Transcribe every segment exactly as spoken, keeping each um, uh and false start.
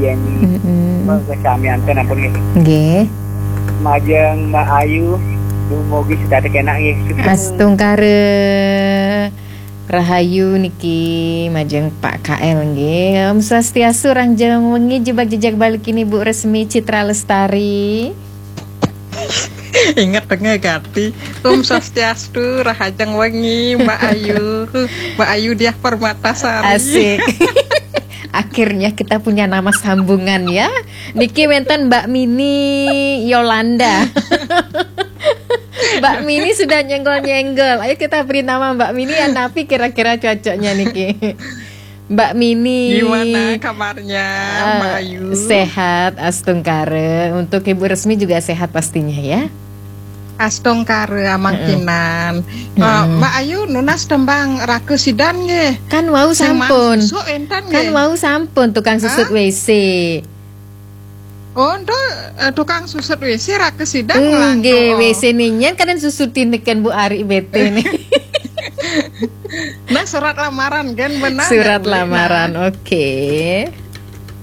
Yang Mm-mm. Samianten ampun nggih. Nggih. Majeng Mbak Ayu, dumugi sedaya kenak nggih. Astungkara rahayu niki majeng Pak K L nggih. Om Swastiastu, rahajeng wengi, jebak jejak balik ini Bu Resmi Citra Lestari. Ingat dengar gati. Om Swastiastu, rahajeng wengi, Mbak Ayu. Mbak Ayu Diah Permatasari. Asik. Akhirnya kita punya nama sambungan ya. Niki wenten Mbak Mini Yolanda. Mbak Mini sudah nyenggol-nyenggol. Ayo kita beri nama Mbak Mini ya, napi kira-kira cocoknya niki. Mbak Mini. Gimana kabarnya, eh, Mbak Ayu? Sehat, astungkara. Untuk Ibu Resmi juga sehat pastinya ya. Astungkara amangkinan. Mm-mm. Eh, Mbak Ayu nunas tembang Raka Sidan nggih. Kan wau sampun. Susuk enten nggih. Kan wau sampun tukang susut W C. Oh, ento, eh, tukang susut W C Raka Sidan nggih, ngelantur. W C ninyen kadang susutin neken Bu Ari bete nih. Nah, surat lamaran kan benar. Surat lamaran, oke.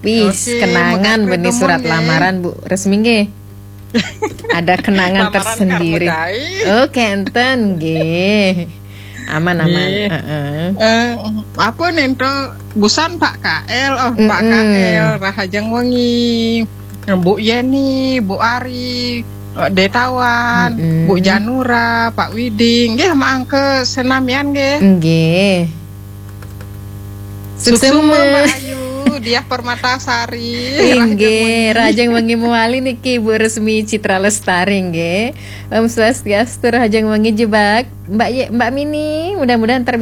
Wis, oke, kenangan benih surat lamaran, Bu Resmi nggih. Ada kenangan tersendiri. Oke, enten nggih. Aman, aman. Nggih. Heeh. Eh, apa nih, ento busan Pak K L, oh, Pak K L, rahajeng wengi. Bu Yeni, Bu Ari, eh, Detawan, Bu Janura, Pak Widing, nggih, maangke senamian nggih. Nggih. Suksma, Mbak Ayu, Diah Permatasari. Inggih, rahajeng wengi mewali niki Bu Resmi Citra Lestari nggih. Om Swastiastu, rahajeng wengi jebak Mbak Ye, Mbak Mini, mudah-mudahan ntar